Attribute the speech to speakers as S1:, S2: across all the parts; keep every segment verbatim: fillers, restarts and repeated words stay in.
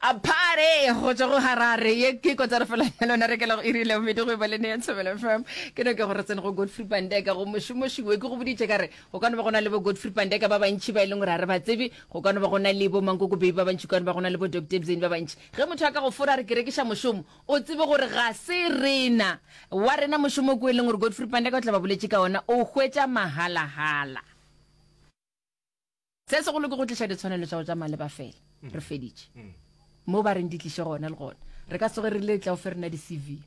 S1: A party go tšwa go Harare. Ye ke kotara fela ya lona re kela go iri le bobedi go e ba le ya Thobela F M. Ke no ke gore tsene go Godfrey Pandeka go mošomošiwe. Ke go boditše ka re go ka no ba go na le bo Godfrey Pandeka ba bantši ba e leng gore ga re ba tsebe. Go ka no ba go na le bo Mankoko Baby ba bantši, go ka no ba go na le bo Doctor Ebzeni ba bantši. Ge motho a ka go fora a re ke rekiša mošomo, o tsebe gore ga se rena. Wa rena mošomo ko e leng gore Godfrey Pandeka o tla ba boletše ka ona, o hwetša mahalahala. Se segolo ke go tliša ditshwanelo tša go tša maleba fela. Re feditše. Mo ba reng di tliše gona le gona. Re ka tsoge re le tla o fe rena di-C V.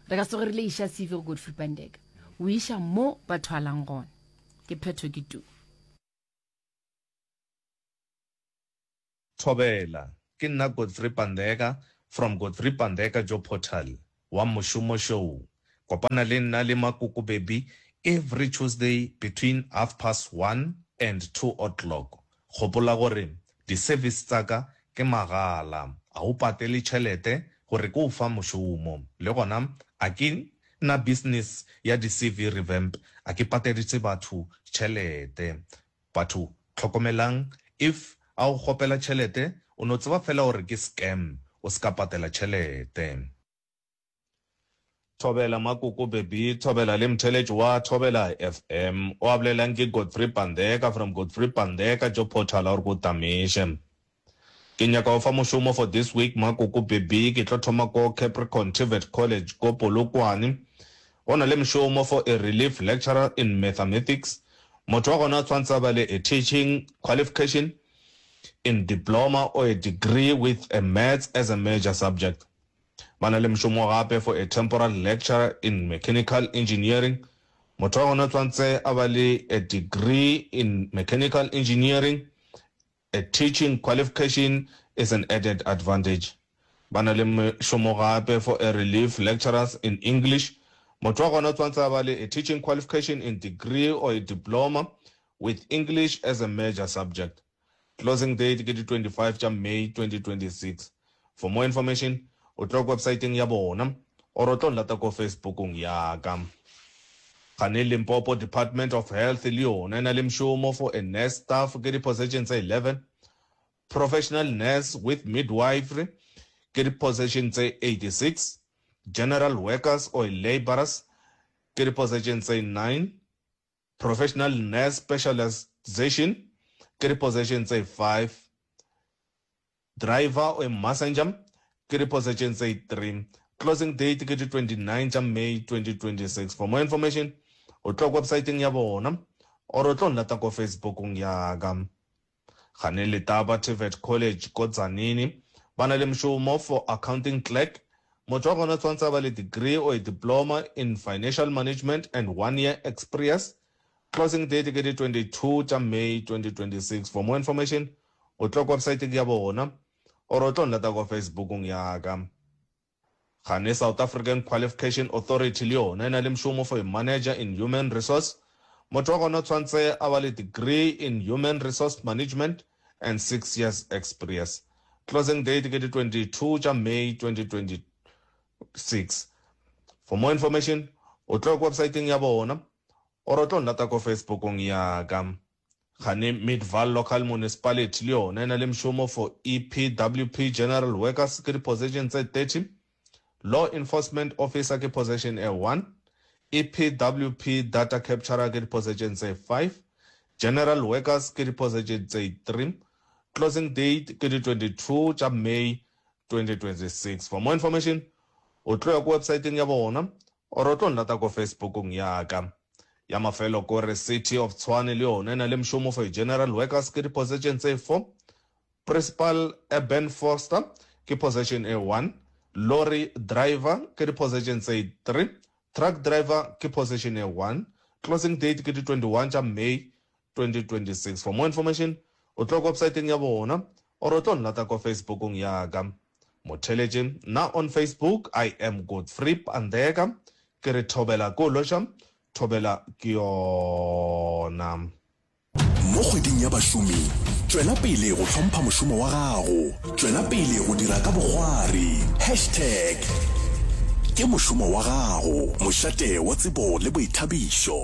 S1: Re ka tsoge re le iša C V go Godfrey Pandeka. O iša mo ba thwalang gona. Ke phetho ke tu.
S2: Thobela, ke nna Godfrey Pandeka from Godfrey Pandeka Job Portal wa Mošomo Show. Kopana le nna le Makoko Baby every Tuesday between half past one and two o'clock. Gopola gore di-service tsa ka ke magala, a o patele tšhelete gore ke o fa mošomo. Le gona a ke na business ya di-C V revamp, a ke pateditše batho tšhelete. Batho tlhokomelang, if a o kgopela tšhelete o no tseba fela gore ke scam, o se ka patela tšhelete. Thobela Makoko Baby, thobela le mtheletši wa Thobela F M. O a bolelang ke Godfrey Pandeka from Godfrey Pandeka Job Portal a gore ko tamiše. Ke nyaka go fa mošomo for this week Makoko Baby, ke tlo thoma ko Capricorn T V E T College ko Polokwane. Go na le mošomo for a relief lecturer in mathematics. Motho wa gona o tshwantse a ba le a teaching qualification in diploma or a degree with a maths as a major subject. Ba na le mošomo gape for a temporal lecturer in mechanical engineering. Motho wa gona o tshwantse a ba le a degree in mechanical engineering. A teaching qualification is an added advantage. Ba na le mošomo gape for a relief lecturers in English. Motho wa gona o tshwantse a ba le a teaching qualification in degree or a diploma with English as a major subject. Closing date ke di twenty-five tša May twenty twenty-six. For more information, o tlo ko websiteng ya bona or o tlo nlata ko Facebookong ya ka. Gane Limpopo Department of Health le yona e na le mošomo for a nurse staff ke di-position tse eleven, professional nurse with midwifery ke di-position tse eighty-six, general workers or laborers ke di-position tse nine, professional nurse specialization ke di-position tse five, driver or messenger ke di-position tse three. Closing date ke di twenty-nine tša May twenty twenty-six. For more information, o tlo ko websiteng ya bona or o tlo nlata ko Facebookong ya ka. Gane Letaba T V E T College ko Tzaneen ba na le mošomo for accounting clerk. Motho wa gona tshwantse a ba le degree or a diploma in financial management and one year experience. Closing date ke di twenty-two tša May twenty twenty-six. For more information, o tlo ko websiteng ya bona or o tlo nlata ko Facebookong ya ka. Gane South African Qualification Authority le yona e na le mošomo for a manager in human resource. Motho wa gona tshwantse a ba le degree in human resource management and six years experience. Closing date ke di twenty-two tša May twenty twenty-six. For more information, o tlo ko websiteng ya bona or o tlo nlata ko Facebookong ya ka. Gane Midvaal Local Municipality le yona e na le mošomo for E P W P General Workers ke di-position tse thirty, Law Enforcement Officer ke position e one, E P W P Data Capturer ke di-position tse five, General Workers ke di-position tse three. Closing date ke di twenty-two tša May twenty twenty-six. For more information, o tlo ya ko websiteng ya bona or o tlo nlata ko Facebookong ya ka. Ya mafelo kore City of Tshwane le yona e na le mošomo for General Workers ke di-position tse four, Principal Eben Foster ke position e one, Lorry Driver ke di-position tse three, Truck Driver ke position e one. Closing date ke di twenty-one tša May twenty twenty-six. For more information, o tlo ko websiteng ya bona or o tlo nlata ko Facebookong ya ka. Motheletše nna on Facebook, I am Godfrey Pandeka. Ke re thobela ko loša, thobela ke yona.
S3: Mo kgweding ya bašomi, tšwela pele go hlompha mošomo wa gago, tšwela pele go dira ka bokgwari. Hashtag ke mošomo wa gago, mošate wa tsebo le boithabišo.